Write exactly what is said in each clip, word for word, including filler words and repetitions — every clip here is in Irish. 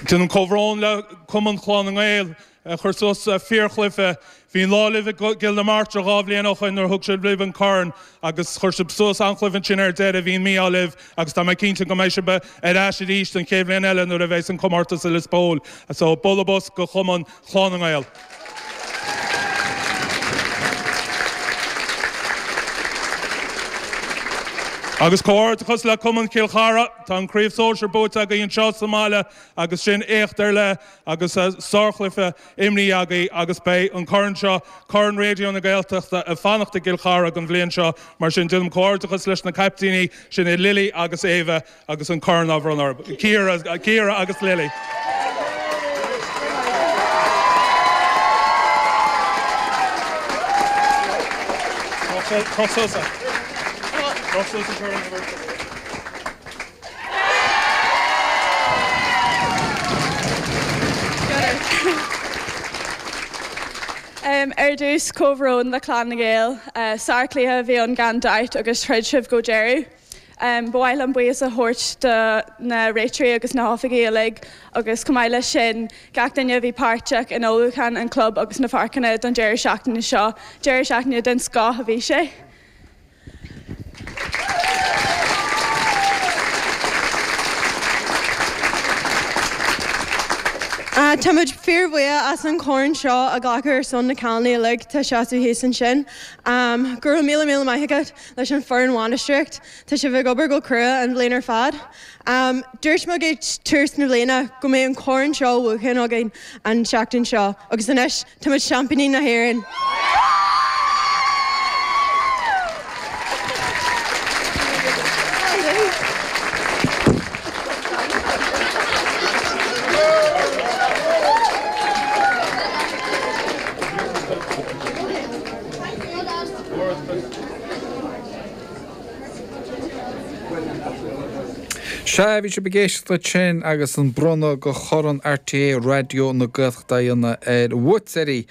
Déanaim comhbhrón le Cumann Chlann na nGael a chuir suas fíorchluiche. Bhí an lá libh i gCill na Martra dhá bhliain ó shin nuair a thug sibh libh an corn agus chuir sibh suas an-chluiche ansin ar deireadh. Bhí an mí-ádh libh agus tá mé cinnte go mbeidh sibh ar ais arís an chéad bhliain eile nuair a bheidh an comórtas i Lios Póil. So bualadh bos go Cumann Chlann na nGael. Agus comhghairdeachas le Cumann Chill Chartha, tá an craobh sóisir buaite agaibh anseo sa mbaile agus sin éacht ar leith agus sárchluiche imrithe agaibh agus beidh an corn seo, Corn Raidió na Gaeltachta, ag fanacht i gCill Chartha don bhliain seo. Mar sin déanaim comhghairdeachas leis na caiptíní sin iad Lily agus Eva agus an corn á bhronnadh orthu. Ciara, Ciara agus Lily. Ar dtús comhbhrón le Clann na nGael, sárchluiche a bhí ann gan dabht agus throid sibh go deireadh. Ba mhaith liom buíochas a thabhairt do na réiteoirí agus na hoifigigh uilig agus chomh maith leis sin gach duine a bhí páirteach in ullmhúchán an chlub agus na páirceanna don deireadh seachtaine seo. Deireadh seachtaine den scoth a bhí sé. Táimid fíorbhuíoch as an chorn seo a ghlacadh ar son na cailíní uilig atá ag seasamh thíos ansin. Go raibh míle míle maith agat leis an foireann bhainistíocht, tá sibh ag obair go crua an bhliain ar fad. Dúirt muid ag tús na bliana go mbeadh an corn seo á bhuachan againn an tseachtain seo agus anois táimid seaimpíní na hÉireann! Sea, bhí sibh ag éisteacht ansin agus an bronnadh de Chorn RTÉ Raidió na Gaeltachta á dhéanamh ar bhuaiteoirí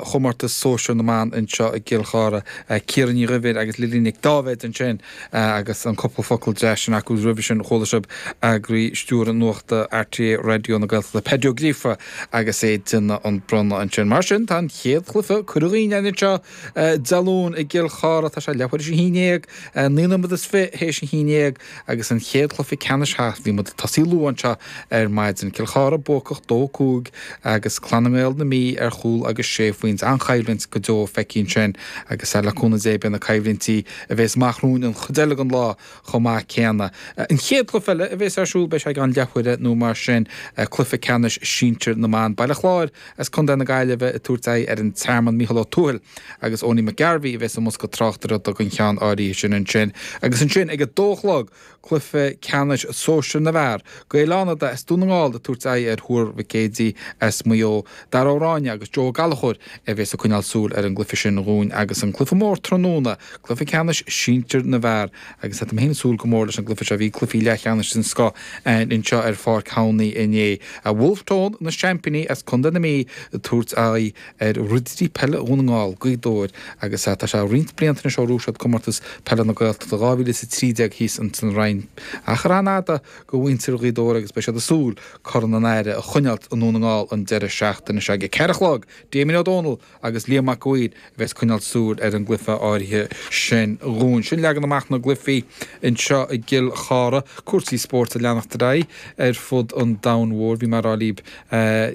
Chomórtas Sóisir na mBan anseo i gCill Chartha, Ciara Ní Dhuibhir agus Lily Nic Dáibhéid ansin agus an cúpla focal deas sin acu. Roimhe sin chuala sibh eagraí stiúrtha nuachta RTÉ Raidió na Gaeltachta, Paddy Ó Gríofa agus é ag déanamh an bronnadh ansin. Mar sin, tá an chéad chluiche curtha dhínn anseo Dé Luain i gCill Chartha. Tá sé leathuair théis a haon déag, naoi nóiméad is fiche théis a haon déag agus an chéad chluiche ceannais thart. Bhí muid ag tosaí luath anseo ar maidin. Cill Chartha buacach dó cúig agus Clann na nGael na Mí ar chúl agus sé phointe. An-choimhlint go deo feicthe ansin agus le cúnamh Dé beidh na coimhlintí a bheas amach romhainn an chuid eile den lá chomh maith céanna. An chéad chluiche eile a bheas ar siúl beidh sé i gceann leathuaire nó mar sin, cluiche ceannais sinsir na mban. Baile Chláir as Contae na Gaillimhe ag tabhairt aghaidh ar an Tearmann, Mícheál Ó Tuathail agus Owenie McGarvey a bheas i mbosca tráchtaireachta don cheann áirithe sin ansin. Agus ansin ag a dó a chlog, cluiche ceannais sóisir na bhfear, Gaeil Fhánada as Dún na nGall ag tabhairt aghaidh ar Thuar Mhic Éadaigh as Maigh Eo, Dara Ó Ráinne agus Joe Ó Gallchóir a bheas ag coinneáil súil ar an gcluiche sin dhúinn agus an cluiche mór tráthnóna, cluiche ceannais sinsir na bhfear agus tá mé féin ag súil go mór leis an gcluiche seo. Bhí cluichí leathcheannais den scoth anseo ar Pháirc Thamhnaigh inné. Wolfe Tone, na seaimpíní as Contae na Mí ag tabhairt aghaidh ar Ridirí Peile Dhún na nGall, Gaoth Dobhair, agus tá sé roinnt blianta anois ó ghnóthaigh siad Comórtas Peile na Gaeltachta dhá mhíle is a trí déag thíos ins an Rinn. Achar an-fhada do mhuintir Ghaoth Dobhair agus beidh siad ag súil Corn an Aire a choinneáilt i nDún na nGall an deireadh seachtaine seo. Ag a ceathair a chlog, Damien Ó Dónaill agus Liam Mac a' Mhaoir a bheas ag coinneáil súil ar an gcluiche áirithe sin dhúinn. Sin leagan amach na gcluichí anseo i gCill Chartha. Cúrsaí spóirt ag leanacht ar aghaidh ar fud an domhain mhóir. Bhí mé ag rá libh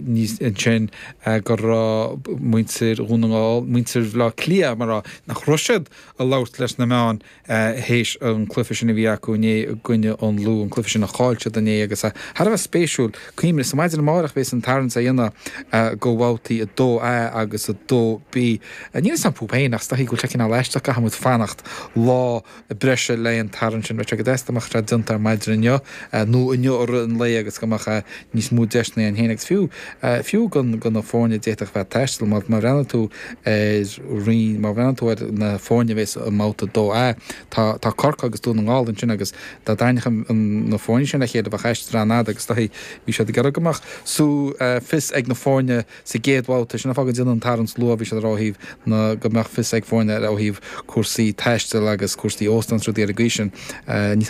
níos ansin go raibh muintir Dhún na nGall, muintir Bhaile Átha Cliath, mar a rá, nach raibh siad ag labhairt leis na meáin théis an cluiche sin a bhí acu inné i gcoinne an Lú, an cluiche sin a chaill siad inné agus thar a bheith spéisiúil. Cuimhnigh, sa maidin amárach a bheas an tarraingt á dhéanamh do bhabhtaí a dó A agus a dó B. Níl a fhios agam fúthu féin ach is dóichí go bhfuil sé cineál aisteach go gcaithfidh muid fanacht lá breise le an tarraingt sin. Bheadh sé go deas dá mbeadh sé déanta ar maidin inniu nó inniu i rith an lae agus go mbeadh níos mó deiseanna ann féin agus fiú fiú do na foirne a d'fhéadfadh bheith ag taisteal. Má bhreathnaíonn tú ar roinn, má bhreathnaíonn tú ar na foirne a bheas i mbabhta a dó A, tá tá Corcaigh agus Dún na nGall ansin agus dá dtarraingeodh na foirne sin le chéile bheadh aistear an-fhada agus is dóichí bhí siad ag iarraidh go mbeadh sú fios ag na foirne sa gcéad bhabhta. Sin an fáth go ndéanann an tarraingt luath, bhí siad ag rá ó thaobh na go mbeadh fios ag foirne ó thaobh cúrsaí taistil agus cúrsaí óstán is rudaí ar an gcaoi sin. Ní